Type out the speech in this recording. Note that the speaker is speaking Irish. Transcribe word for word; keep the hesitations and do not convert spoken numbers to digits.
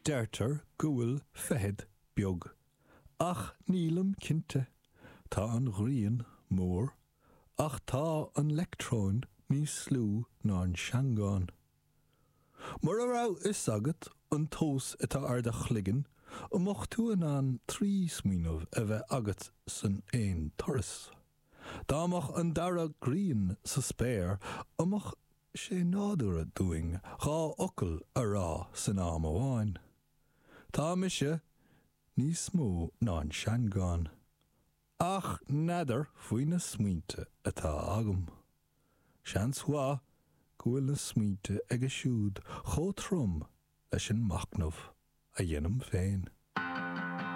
Deirtear go bhfuil feithid beag, ach nílim cinnte. Tá an ghrian mór, ach tá an leictreon níos lú ná an seangán. Mura raibh fhios agat an tomhas atá ar do chloigeann, an mbeadh tú in ann trí smaoineamh a bheith agat san aon turas? Dá mbeadh an dara grian sa spéir, an mbeadh sé nádúrtha dúinn dhá fhocal a rá san am amháin? Tá mise níos mó ná an seangán. Ach n'fheadar faoi na smaointe atá agam. Seans mhaith go bhfuil na smaointe aige siúd chomh trom leis an machnamh a dhéanaim féin.